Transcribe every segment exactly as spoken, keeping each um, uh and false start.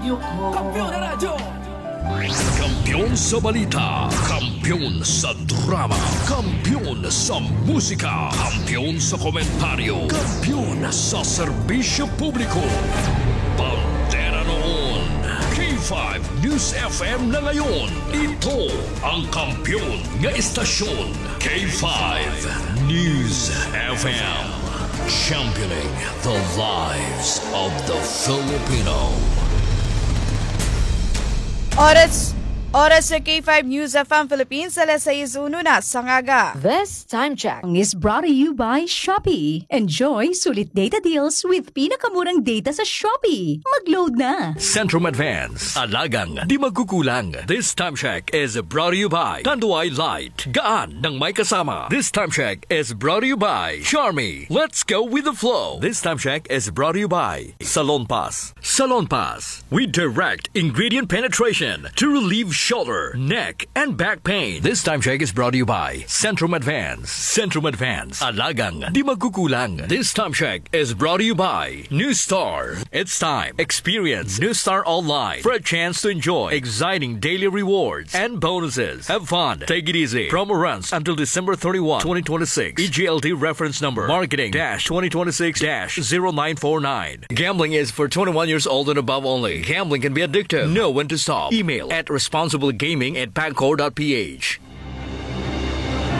Kampiyon na radyo! Kampiyon sa balita, kampiyon sa drama, kampiyon sa musika, kampiyon sa komentaryo, kampiyon sa serbisyo publiko. Bandera noon, K five News F M na ngayon. Ito ang kampiyon nga istasyon, K five News F M. Championing the lives of the Filipino. Oras, oras sa K five News F M Philippines, alas sais uno na sa aga. This time check is brought to you by Shopee. Enjoy sulit data deals with pinakamurang data sa Shopee. Mag-load na! Centrum Advance. Alagang di magkukulang. This time check is brought to you by Tanduay Light. Gaan ng may kasama. This time check is brought to you by Charmy. Let's go with the flow. This time check is brought to you by Salonpas. Salonpas. We direct ingredient penetration to relieve shoulder, neck, and back pain. This time check is brought to you by Centrum Advance. Centrum Advance. Alagang di magkukulang. This time check is brought to you by New Star. It's time. Experience New Star Online for a chance to enjoy exciting daily rewards and bonuses. Have fun. Take it easy. Promo runs until December thirty-one, twenty twenty-six. E G L T reference number marketing dash twenty twenty-six dash zero nine four nine. Gambling is for twenty-one years old and above only. Gambling can be addictive. Know when to stop. Email at responsiblegaming at pagcor dot P H.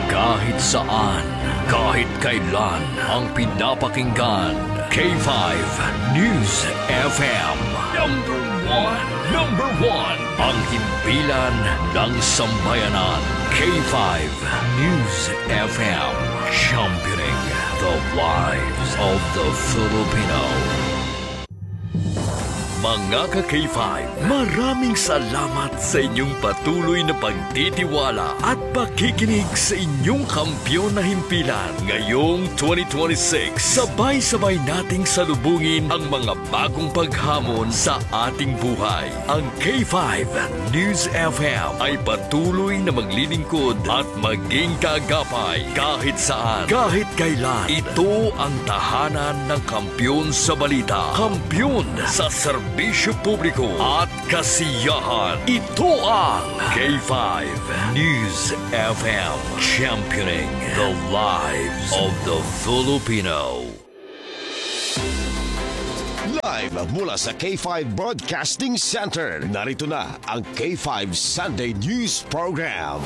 Kahit saan, kahit kailan, ang pinapakinggan, K five News F M. Number one, number one, ang himpilan ng sambayanan. K five News F M, championing the lives of the Filipino. Mga ka K five, maraming salamat sa inyong patuloy na pagtitiwala at pakikinig sa inyong kampiyon na himpilan. Ngayong twenty twenty-six, sabay-sabay nating salubungin ang mga bagong paghamon sa ating buhay. Ang K five News F M ay patuloy na maglilingkod at maging kaagapay kahit saan, kahit kailan. Ito ang tahanan ng kampiyon sa balita, kampiyon sa serbisyo publiko at kasiyahan. Ito ang K five News F M, championing the lives of the Filipino. Live mula sa K five Broadcasting Center, narito na ang K five Sunday News Program.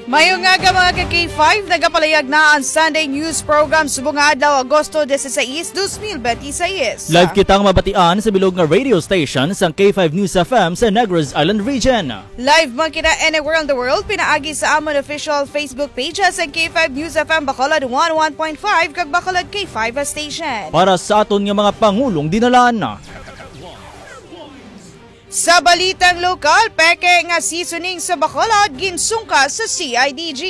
Mayong aga, mga ka K five, nagapalayag na ang Sunday News Program subong nga adlaw, Agosto dieciséis, dos mil veintiséis. Live kitang mabatian sa bilog nga radio station sang K five News F M sa Negros Island Region. Live man kita anywhere in the world pinaagi sa amon official Facebook page sa K five News F M Bacolod one oh one point five kag Bacolod K five station. Para sa aton nga mga pangulong dinalan. Sa balitang lokal, peke nga seasoning sa Bacolod ginsungka sa C I D G.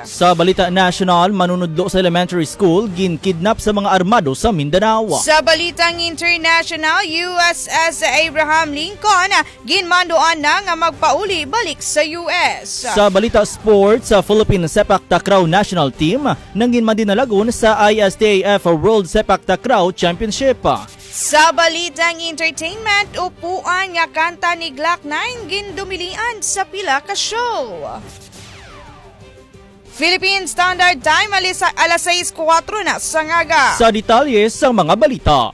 Sa balita nasyonal, manunudlo sa elementary school ginkidnap sa mga armado sa Mindanao. Sa balitang international, U S S Abraham Lincoln ginmanduan na nga magpauli balik sa U S. Sa balita sports, sa Philippine Sepak Takraw National Team nanginmandinalagon sa I S T A F World Sepak Takraw Championship. Sa balitang entertainment, upuan nga kanta ni Glock nine gindumilian sa pila ka show. Philippine Standard Time, alis-, alas sais kuwatro na sa ngaga. Sa detalye sa mga balita.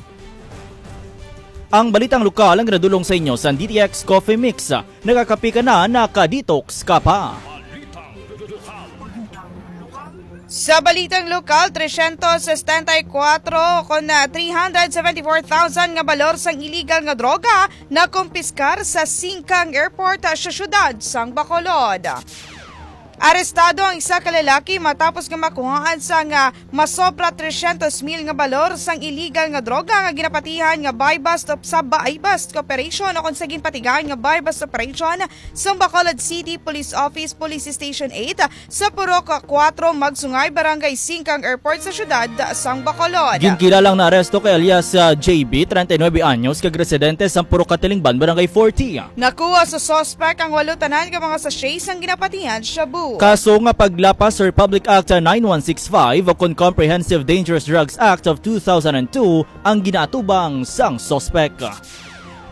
Ang balitang lokal ang ginadulong sa inyo sa D T X Coffee Mix. Nagakape ka na, naka-detox ka pa. Sa balitang lokal, tresyentos setenta y kuwatro kon, ah, three hundred seventy-four thousand nga balor sang iligal nga droga nakumpiskar sa Singkang Airport, ah, sa siyudad sang Bacolod. Arestado ang isa ka lalaki matapos nga makuhaan sang, ah, masobra tresyentos mil nga balor sang iligal nga droga nga ginapatihan nga buy-bust op-, sa buy-bust operation o kon sa ginpatigayon nga buy-bust operation sang Bacolod City Police Office, Police Station eight, sa Purok kuwatro, Magsungay, Barangay Singkang Airport sa siyudad sang Bacolod. Ginkilalang naaresto kay alias, ah, J B, treinta y nueve anyos, kag residente sa Purok Katilingban, Barangay forty. Nakuha sa suspect ang walo tanan nga mga sachet sang ginapatihan shabu. Kaso nga paglapas sa Republic Act nine one six five o kon Comprehensive Dangerous Drugs Act of two thousand and two ang ginaatubang sang suspek.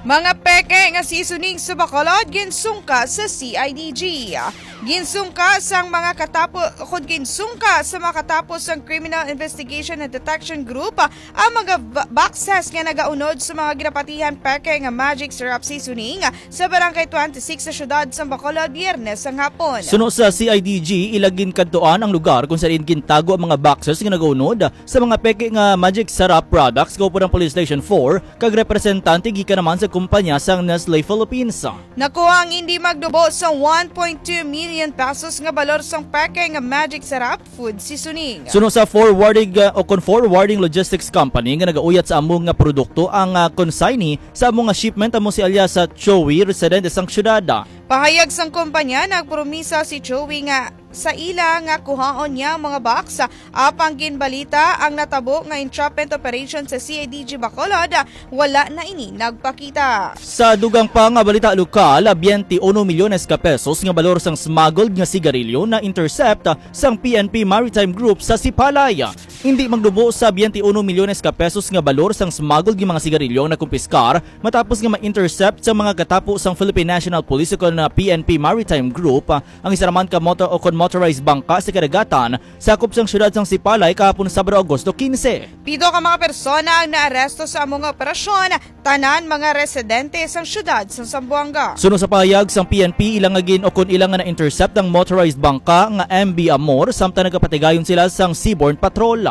Mga peke nga seasoning sa Bacolod ginsungka sa C I D G. Ginsungka sang mga katapo, kung ginsungka sa mga katapo sang Criminal Investigation and Detection Group ang mga ba-, boxes nga nagaunod sa mga ginapatihan peke nga Magic Sarap Seasoning sa Barangay twenty-six sa siyudad sang Bacolod, Biyernes sang hapon. Suno sa C I D G, ila ginkadtuan ang lugar kung saan gintago ang mga boxes nga nagaunod sa mga peke nga Magic Sarap products kaupo ng Police Station four kag representante gikan naman sa kumpanya sang Nestle Philippines. Nakuha ang hindi magdubo sa one point two million pesos nga balor sang peke nga Magic Sarap food seasoning. Suno sa forwarding, uh, o kon forwarding logistics company nga nagauyat sa amo nga produkto ang, uh, consignee sa amo nga shipment, amo si alias sa Joey, residente sang siyudad. Pahayag sang kumpanya, nagpromisa si Joey nga sa ila nga kuhaon niya ang mga box, apang ginbalita ang natabo nga entrapment operation sa C I D G Bacolod, wala na ini nagpakita. Sa dugang pa nga balita lokal, twenty-one milyones ka pesos nga balor sang smuggled nga sigarilyo na-intercept sang P N P Maritime Group sa Sipalay. Hindi magdubo sa twenty-one milyones ka pesos nga balor sang smuggled nga mga sigarilyo ang nakumpiskar matapos nga ma-intercept sa mga katapo sang Philippine National Police o kon P N P Maritime Group ang isa naman ka motor o kon motorized bangka sa kadagatan sakop sang siyudad sang Sipalay kahapon, Sabado, Agosto quince. Pito ka mga persona ang naaresto sa amo nga operasyon, tanan mga residente sang siyudad sang Zamboanga. Suno sa pahayag sang P N P, ila nga gin-, o kon ila nga na-intercept ang motorized bangka nga M V Amor, samtang nagapatigayon sila sang Seabourn Patrol.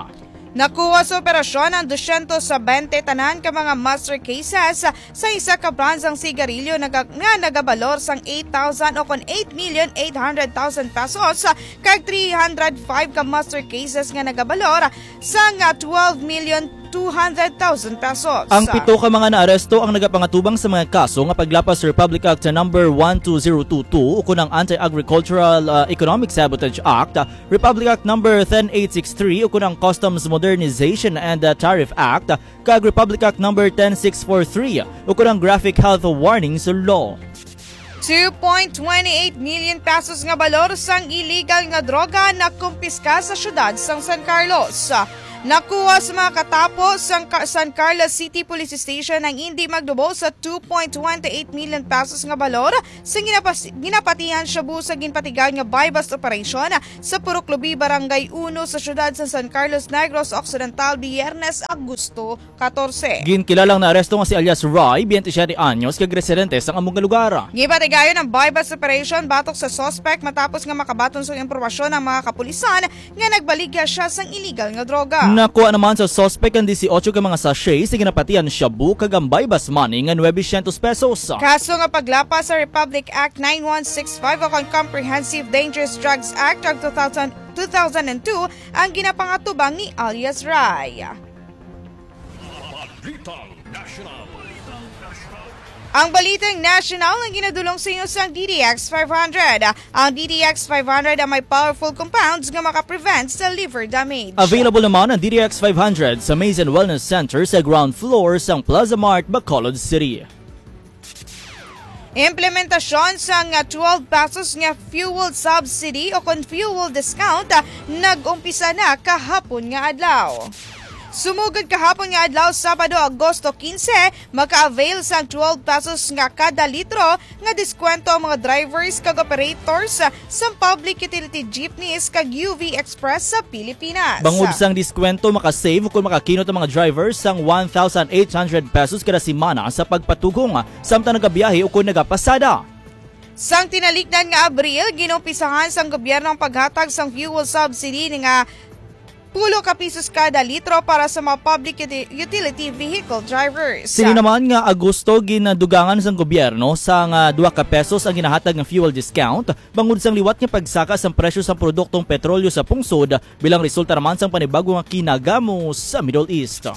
Nakuha sa operasyon ang dusyentos sa bente tanan ka mga master cases sa isa ka brand sang sigarilyo naga-, nga nagabalor sang eight thousand o kon eight million eight hundred thousand pesos, kag three hundred five ka master cases nga nagabalor sang, ah, twelve million two hundred thousand pesos. Ang pito ka mga naaresto ang nagapangatubang sa mga kaso nga paglapas sa Republic Act number one two zero two two, ukon ang Anti-Agricultural, ah, Economic Sabotage Act, Republic Act number ten eight six three, ukon ang Customs Modernization and, ah, Tariff Act, kag Republic Act number ten six four three, ukon ang Graphic Health Warnings Law. Two point twenty eight million pesos nga balor sang iligal nga droga nakumpiska sa siyudad sang San Carlos. Nakuha sa mga katapo sang Ka-, San Carlos City Police Station ang indi magdubo sa two point twenty eight million pesos nga balor sa ginapas-, ginapatihan shabu sa ginpatigayon nga buy-bust operation sa Purok Lubi, Barangay Uno sa siyudad sa San Carlos Negros Occidental, Biyernes, Agosto katorse. Ginkilalang naaresto nga si alias Ray, twenty-siete anyos, kag residente sang amo nga lugar. Gipatigayon ang buy-bust operation batok sa suspect matapos nga makabaton sang impormasyon ang mga kapulisan nga nagbaligya siya sang iligal nga droga. Nakuha naman sa suspect ang dieciocho ka mga sachet sa ginapatihan shabu kag ang buy-bust money nga nuebesyentos pesos. Kaso nga paglapas sa Republic Act nine one six five o kon Comprehensive Dangerous Drugs Act of two thousand, two thousand and two ang ginapangatubang ni alias Ray. Balitang National. Ang Balitang National ang ginadulong sa inyo sang D D X five hundred. Ang D D X five hundred ang may powerful compounds nga maka-prevent sa liver damage. Available naman ang D D X five hundred sa Maze and Wellness Center sa ground floor sang Plaza Mart, Bacolod City. Implementasyon sang twelve pesos nga fuel subsidy o kon fuel discount, ah, nag-umpisa na kahapon nga adlaw. Sumugod kahapon nga adlaw, Sabado, Agosto quince, maka-avail sang twelve pesos nga kada litro nga diskwento ang mga drivers kag operators sang public utility jeepneys kag U V Express sa Pilipinas. Bangod sang diskwento, makasave o kon makakinot ang mga drivers sang one thousand eight hundred pesos kada semana sa pagpatugong, samtang nagabiyahe o kon nagapasada. Sang tinalikdan nga Abril, ginumpisahan sang gobyerno ang paghatag sang fuel subsidy nga pulo ka pisos kada litro para sa mga public uti-, utility vehicle drivers. Sini naman nga Agosto, ginadugangan sang gobyerno sang, ah, dua ka pesos ang ginahatag nga fuel discount bangod sang liwat nga pagsaka sang presyo sang produktong petrolyo sa pungsod bilang resulta naman sang panibago nga kinagamo sa Middle East.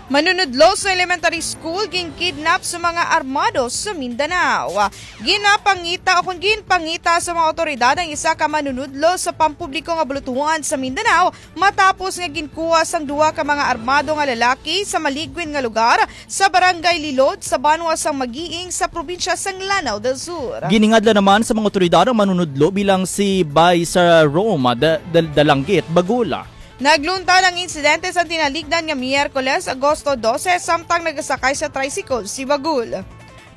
Manunudlo sa elementary school ginkidnap sa mga armado sa Mindanao. Ginapangita o kung ginpangita sa mga awtoridad ang isa ka manunudlo sa pampubliko nga bulutuhan sa Mindanao matapos nga ginkuha sang duha ka mga armado nga lalaki sa maligwin nga lugar sa Barangay Lilod sa banwa sang Magiing sa probinsya sang Lanao del Sur. Giningadla naman sa mga awtoridad ang manunudlo bilang si Bay sa Roma Da- Da- Dalanggit Bagul. Naglunta ang insidente sa tinalikdan nga Miyerkules, Agosto dose, samtang nagasakay sa tricycle si Bagul.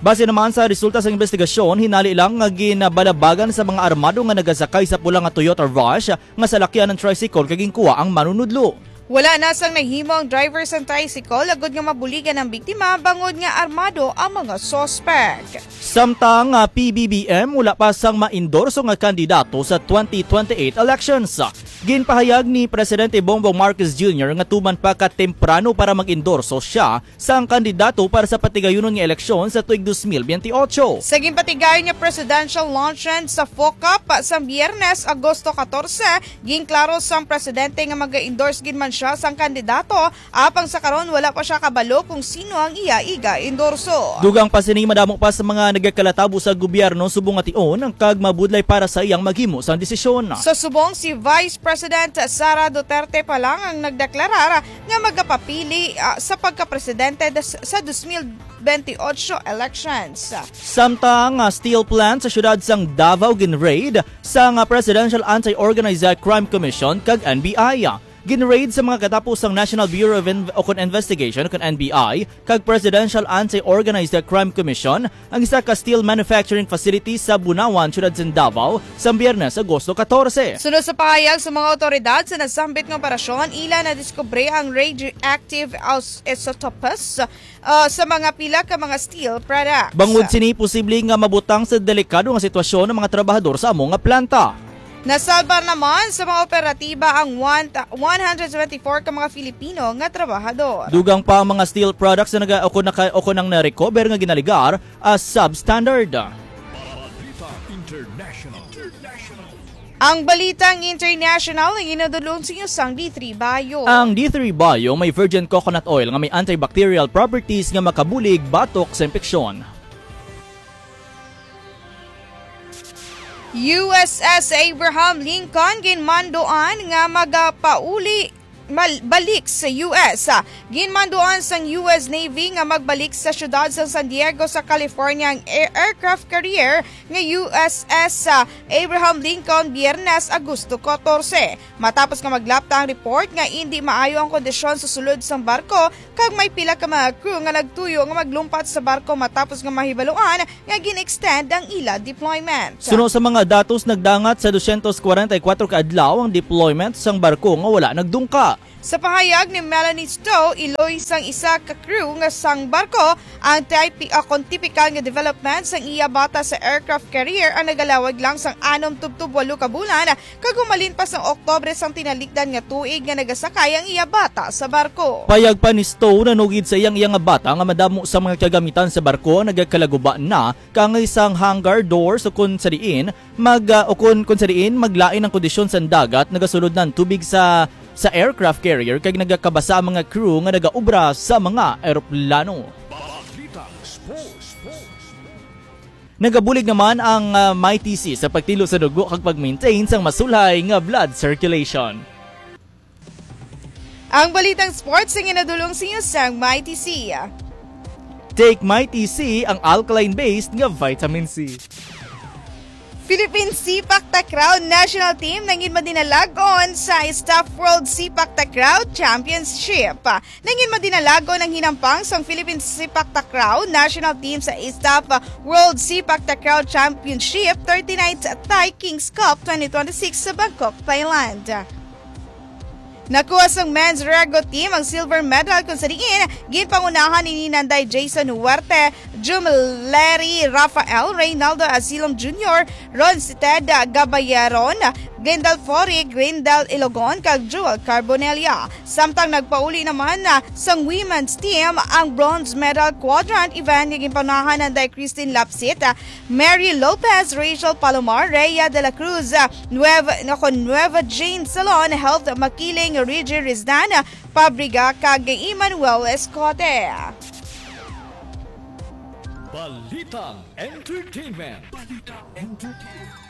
Base naman sa resulta sa investigasyon, hinali lang nga ginabalabagan sa mga armado nga nagasakay sa pula nga Toyota Rush nga salakyan ang tricycle kag ginkuha ang manunudlo. Wala na sang nahimo ang driver sang tricycle agud nga mabuligan ang biktima bangod nga armado ang mga suspek. Samtang, ah, P B B M wala pa sang maendorso nga kandidato sa twenty twenty-eight elections. Ginpahayag ni Presidente Bongbong Marcos Junior nga tuman pa ka temprano para mag-endorso siya sang kandidato para sa patigayunon nga eleksyon sa tuig dos mil biyente otso. Sa ginpatigayon nga presidential luncheon sa FOCAP sa Biyernes, Agosto katorse, ginklaro sang presidente nga maga-endorse gid man siya sang kandidato, apang sa karon wala pa siya kabalo kung sino ang iya iga-endorso. Dugang pa sini, madamo pa sa mga nagakalatabo sa gobyerno subong nga tion kag mabudlay para sa iyang maghimo sang desisyon. Sa subong, si Vice President Sara Duterte pa lang ang nagdeklarar nga magapapili, ah, sa pagkapresidente des- sa dos mil bente otso elections. Samtang, ah, steel plant sa siyudad sang Davao ginraid sang, ah, Presidential Anti-Organized Crime Commission kag N B I. Ginraid sa mga katapos sang National Bureau of Inv- o kon Investigation o kon N B I kag Presidential Anti-Organized Crime Commission ang isa ka steel manufacturing facility sa Bunawan, siyudad sang Davao, sa Biyernes, Agosto katorse. Sunod sa pahayag sa mga awtoridad sa nasambit nga operasyon, ila nadiskubre ang radioactive aus- isotopes, ah, sa mga pila ka mga steel products. Bangod sini, posible nga mabutang sa delikado nga sitwasyon ang mga trabahador sa amo nga planta. Nasalbar naman sa mga operatiba ang one, one hundred seventy-four ka mga Filipino nga trabahador. Dugang pa ang mga steel products na naga-, o kon naka-, o kon ang na-recover nga ginaligar as substandard. Balita International. Ang balitang international ang ginadulong sa inyo sang D three Bio. Ang D three Bio may virgin coconut oil nga may antibacterial properties nga makabulig batok sa impeksyon. U S S Abraham Lincoln ginmanduan nga magapauli mal- balik sa U S. Ginmanduan sang U S Navy nga magbalik sa siyudad sa San Diego sa California ang air- aircraft carrier nga U S S Abraham Lincoln Biyernes, Agosto katorse. Matapos nga maglapta ang report nga indi maayo ang kondisyon sa sulod sang barko kag may pila ka mga crew nga nagtuyo nga maglumpat sa barko matapos nga mahibaluan nga gin-extend ang ila deployment. Suno sa mga datos, nagdangat sa dosyentos kwarenta y kuwatro ka adlaw ang deployment sang barko nga wala nagdungka. Sa pahayag ni Melanie Stowe, iloy sang isa ka crew nga sang barko ang typi-, ah, kon tipikal nga development sang iya bata sa aircraft carrier ang nagalawag lang sang anom tubtob walo ka bulan, kag humalin pa sang Oktubre sang tinalikdan nga tuig nga nagasakay ang iya bata sa barko. Payag pa ni Stowe, nanugid sa iyang iya nga bata nga madamo sa mga kagamitan sa barko ang nagakalaguba na, kaangay sang hangar doors, o kon sa diin mag, ah, o kon, kon sa diin maglain ang kondisyon sang dagat, nagasulod na ang tubig sa, sa aircraft carrier kag nagakabasa ang mga crew nga nagaobra sa mga eroplano. Balitang Sports. Nagabulig naman ang, ah, Mighty C sa pagtilo sa dugo kag pag-maintain sang masulay nga blood circulation. Ang balitang sports ang ginadulong sa inyo sang Mighty C. Take Mighty C, ang alkaline-based nga vitamin C. Philippine Sepak Takraw National Team nangin madinalagon sa Staff World Sepak Takraw Championship. Nangin madinalagon ang hinampang sang Philippine Sepak Takraw National Team sa Staff World Sepak Takraw Championship thirty-ninth Thai Kings Cup twenty twenty-six sa Bangkok, Thailand. Nakuha sang men's Rego team ang silver medal, kung sa diin ginpangunahan ni Nanday Jason Huerte, Jumleri Rafael, Reynaldo Asilom Junior, Ron Sited Gabayaron, Grindal Fori, Grindal Ilogon, kag Jewel Carbonella. Samtang nagpauli naman na sang women's team ang bronze medal quadrant event nga ginpaunahan anday Christine Lapsit, Mary Lopez, Rachel Palomar, Rhea de la Cruz, Nueva, nako, Nueva Jean Salon, Health Makiling, Rigi Rizdan, Pabriga, kag Emmanuel Escote. Balitang Entertainment. Balitang Entertainment.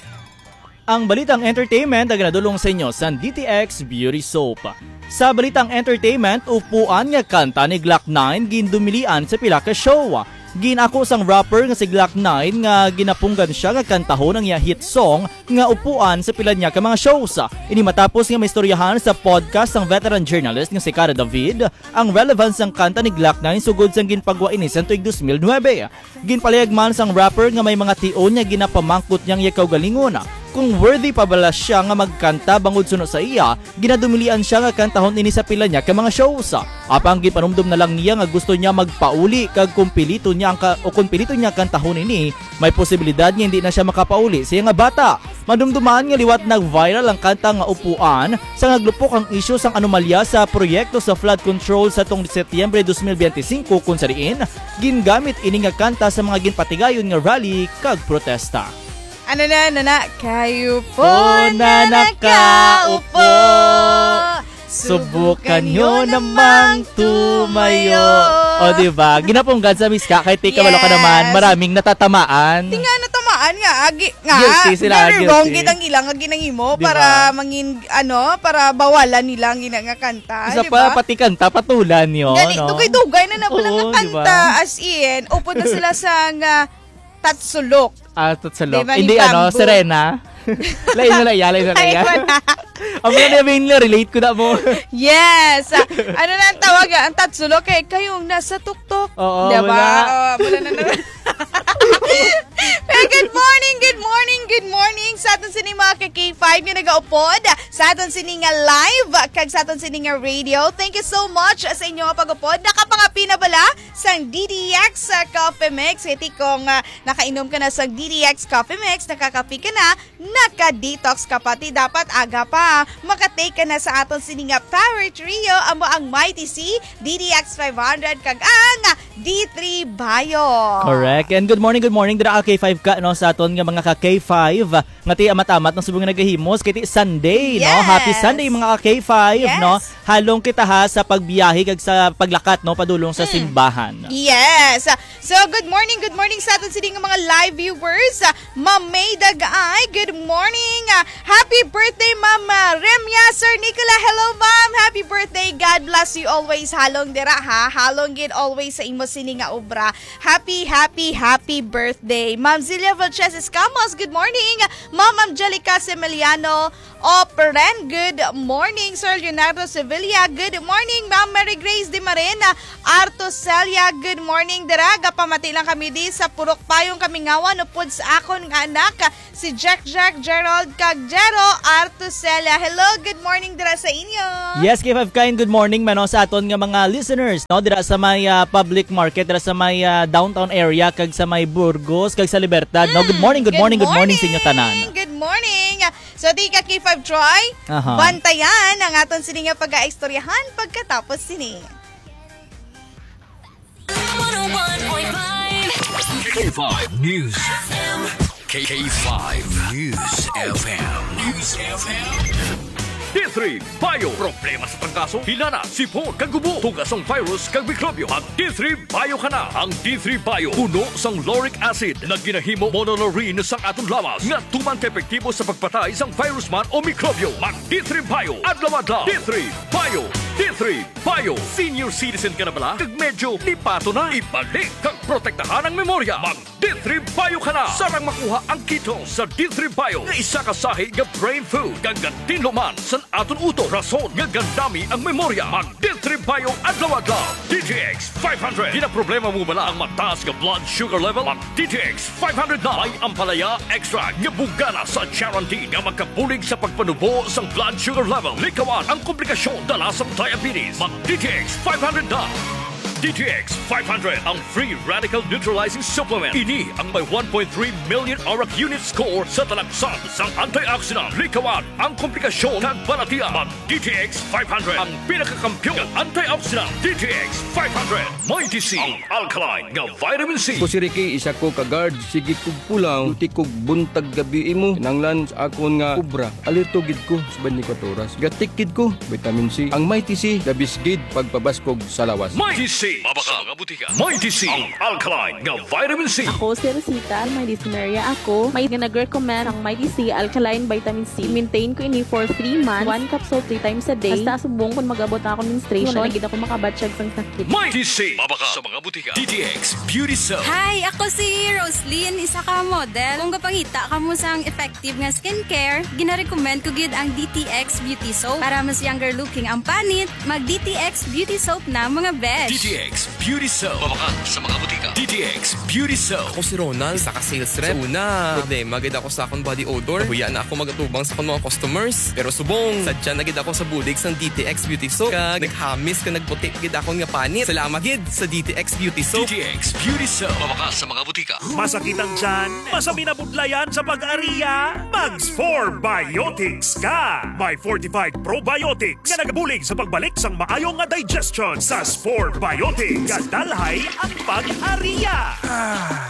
Ang balitang entertainment ang ginadulong sa inyo sang D T X Beauty Soap. Sa balitang entertainment, upuan nga kanta ni Glock nine gindumilian sa pila ka show. Gin-ako sang rapper nga si Glock nine nga ginapunggan sia nga kantahon ang iya hit song nga upuan sa pila niya ka mga shows. Ini matapos nga maistoryahan sa podcast sang veteran journalist nga si Cara David ang relevance sang kanta ni Glock nine sugod sang ginpagwa ini sang tuig dos mil nuebe. Ginpalihag man sang rapper nga may mga tion nga ginapamangkot niya ang iya kaugalingon kung worthy pa bala siya nga magkanta bangod suno sa iya, ginadumilian siya nga kantahon ini sa pila niya ka mga shows. Apang ginpanumdom na lang niya nga gusto niya magpauli kag kung pilito niya ang ka-, o kung pilito niya kantahon ini, may posibilidad nga hindi na siya makapauli sa iya nga bata. Madumduman nga liwat nag-viral ang kanta nga Upuan sa naglupok ang isyu sang anomalya sa proyekto sa flood control sa tong Setyembre dos mil benti singko, kung sa diin gingamit ini nga kanta sa mga ginpatigayon nga rally kag protesta. Ano na, ano na? Kayo po na nakaupo. Subukan nyo namang tumayo. O, di ba? Ginapunggan sa miska kay tika wala ka naman. Yes. Maraming natatamaan. Di nga natamaan nga. Agi, nga. Guilty sila, very wrong guilty. Gid ang ilang nga ginahimo. Di ba? Para mangin, ano, para bawalan nila ang gina nga kanta, Isa di pa, ba? Pati kanta, patulan nyo, Gani, no? Dugay-dugay na na pala Oo, nga di ba? Kanta. As in, upod na sila sa nga tatsulok. Ah, tatsulok. Di ba, ni Hindi, ano, Bamboo? Serena? Lain na, lain, lain na, Ay, lain. Wala. Ang mga na, relate ko na mo. Yes. Ah, ano na ang tawag? Ang tatsulok kay kayong nasa tuktok. Oo, Di ba? Wala. Oh, wala na naman. Hey, good morning, good morning, good morning sa aton sini mga ka K five nga nagaupod sa aton sini nga live kag sa aton sini nga radio. Thank you so much sa inyo nga pag-upod. Nakapangapi na bala sang D D X Coffee Mix? Kay tikong, ah, nakainom ka na sang D D X Coffee Mix, nakakapi ka na, naka-detox ka pa, ti dapat aga pa. Makatake ka na sa aton sini nga Power Trio, amo ang Mighty C, D D X five hundred, kag ang D three Bio. Correct. And good morning, good morning dira ka K five ka, no, sa aton nga mga ka K five nga ti amat-amat ng subong nga nagahimos kay ti Sunday, no? Yes. Happy Sunday, mga ka K five, Yes. no? Halong kita ha sa pagbiyahe kag sa paglakat, no, padulong sa Mm. simbahan. Yes. So, good morning, good morning sa aton sini nga mga live viewers. Ah, Ma'am May Dagay, good morning. Ah, happy birthday, Ma'am, ah, Remya, Sir Nicola. Hello, Ma'am. Happy birthday. God bless you always. Halong dira, ha. Halong gid always sa imo sini nga obra. Happy, happy, happy birthday. Ma'am Zilia Vilches Escamas, good morning. Ma'am Angelica Semeliano, Operen, good morning. Sir Leonardo Sevilla, good morning. Ma'am Mary Grace Di Marena Artoselia, good morning. Dira, gapamati lang kami di sa Purok Payong Kamingawan, upod sa akon nga anak, si Jack Jack, Gerald, kag Jero Artoselia. Hello, good morning dira sa inyo. Yes, K five Kain, good morning man, no, sa aton nga mga listeners, no, dira sa may, ah, public market, dira sa may, ah, downtown area, kag sa may Burgos, kag sa Libertad, no. Good Mm, morning, good good morning, good morning sa inyo tanan. morning, good morning. So, di ka, K five Troy, Aha. bantayan ang aton sini nga pag-aistoryahan pagkatapos sini. K five News. K five News F M. News F M. D three Bio. Problema sa trangkaso, hilana, sipon, kag ubo, tugas ang virus kag mikrobyo. Mag D three Bio ka na. Ang D three Bio puno sang lauric acid nga ginahimo monolaurin sang aton lawas nga tuman ka epektibo sa pagpatay sang virus man o mikrobyo. Mag D three Bio adlaw-adlaw. D three Bio. D three Bio. Senior citizen ka na bala? Kag medyo lipato na? Ibalik kag protektahan ang memorya. Mag D three Bio ka na. Sarang makuha ang ketone sa D three Bio nga isa ka sahi nga brain food kag gatinlo man sa aton utok, rason nga gandami ang memorya. Mag D three Bio adlaw-adlaw. D T X five hundred. Ginaproblema mo bala ang mataas nga blood sugar level? Mag D T X five hundred na. May ampalaya extract nga bugana sa charantin nga makabulig sa pagpanubo sang blood sugar level. Likawan ang komplikasyon dala sang diabetes. Mag D T X five hundred na. D T X five hundred, ang free radical neutralizing supplement. Ini ang may one point three million arak unit score sa talaksan sang antioxidant. Likawan ang komplikasyon kag balatian. Mag D T X five hundred, ang pinakakampiyon nga antioxidant. D T X five hundred, may D C, ang alkaline nga vitamin C. Ako si Ricky, isa ko ka guard. Sige kog pulaw, duty kog buntag gabi imo. Kinahanglan sa akon nga obra, alerto gid ko sa twenty-four oras. Gatik gid ko, vitamin C. Ang Mighty C, the best gid pagpabaskog sa lawas. Mighty C, mabaka sa mga butika. Mighty C, ang alkaline nga vitamin C. Ako si Rosita, may dysmenorrhea ako. May nag-recommend ang Mighty C alkaline vitamin C. Maintain ko ini for three months. One capsule three times a day. Hasta subong kung mag-abot na ako menstruation, wala na gid ako makabatyag sang sakit. Mighty C, mabaka sa mga butika. D T X Beauty Soap. Hi, ako si Roslyn, isa ka model. Kung gapangita kamo sang effective nga skincare, ginarecommend ko gid ang D T X Beauty Soap. Para mas younger looking ang panit, mag D T X Beauty Soap na, mga besh. D T X Beauty Soap. Mabaka sa mga butika. D T X Beauty Soap. Ako si Ronald, isa ka sales rep. Sa una, problema gid ako sa akong body odor. Nahuya na ako magatubang sa akong mga customers. Pero subong, sadya na gid ako sa bulig sang D T X Beauty Soap. Kag naghamis kag nagputi gid akon nga panit. Salamat gid sa D T X Beauty Soap. D T X Beauty Soap. Mabaka sa mga butika. Masakit ang tiyan? Masabi na budlayan sa pag-aria? Mag Spore Biotics ka! May fortified probiotics nga nagabulig sa pagbalik sang maayo nga digestion sa Spore Biotics. Kadalhay ang pag-aria!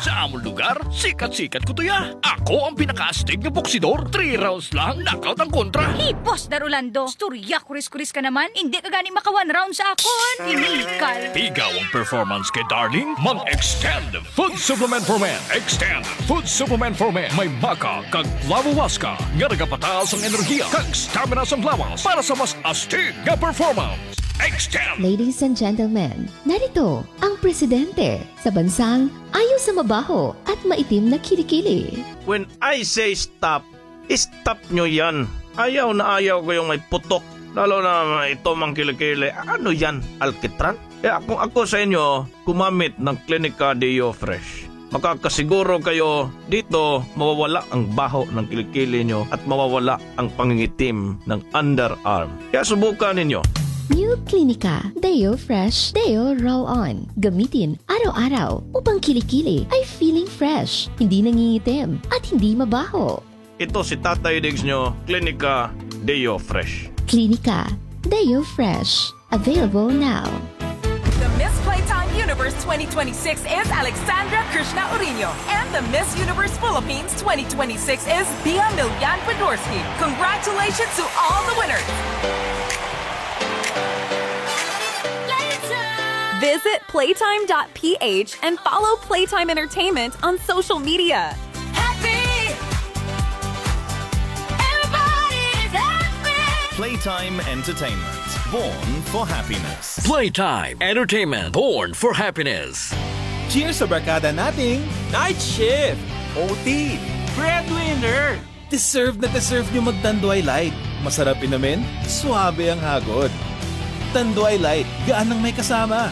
Sa amon lugar, sikat-sikat ko to ya. Ako ang pinakaastig nga boksidor. Three rounds lang, knockout ang kontra. Hey, Boss Dar Rolando, istorya kuris-kuris ka naman. Hindi ka gani maka one round sa akon. Iniikal. Pigaw ang performance kay Darling. Mag-Extend Food Supplement for Men. Extend Food Supplement for Men. May maca kag flavowaska nga nagapataas ang enerhiya kag stamina sang lawas para sa mas astig nga performance. Extend. Ladies and gentlemen, narito ang presidente sa bansang ayo sa mabaho at maitim na kilikili. When I say stop, stop nyo yan. Ayaw na ayaw ko yung may putok, lalo na ito mang kilikili. Ano yan, alkitran? Kaya kung ako sa inyo, gumamit ng Clinica Deo Fresh. Makakasiguro kayo dito mawawala ang baho ng kilikili nyo at mawawala ang pangingitim ng underarm. Kaya subukan ninyo. New Clinica Deo Fresh Deo Roll On. Gamitin araw-araw upang kilikili ay feeling fresh, hindi nangingitim, at hindi mabaho. Ito si Tatay Diggs nyo, Clinica Deo Fresh. Clinica Deo Fresh. Available now. The Miss Playtime Universe twenty twenty-six is Alexandra Krishna Orino, and the Miss Universe Philippines twenty twenty-six is Bia Milian Podorski. Congratulations to all the winners! Visit playtime dot P H and follow Playtime Entertainment on social media. Happy! Everybody is happy! Playtime Entertainment, born for happiness. Playtime Entertainment, born for happiness. Cheers sa barkada nating night shift, O T, breadwinner. Deserve na deserve nyo mag Tanduay Light. Masarap inumin, suabe ang hagod. Tanduay Light, gaan ang may kasama.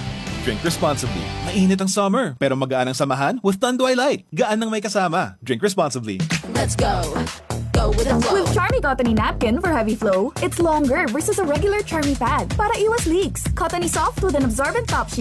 Drink responsibly. Mainit ang summer, pero magaan ang samahan with Tanduay Light. Gaan ang may kasama. Drink responsibly. Let's go. Go with the flow. With Charmy Cotton Napkin for heavy flow, it's longer versus a regular Charmy pad para iwas leaks. Cotton soft with an absorbent top sheet.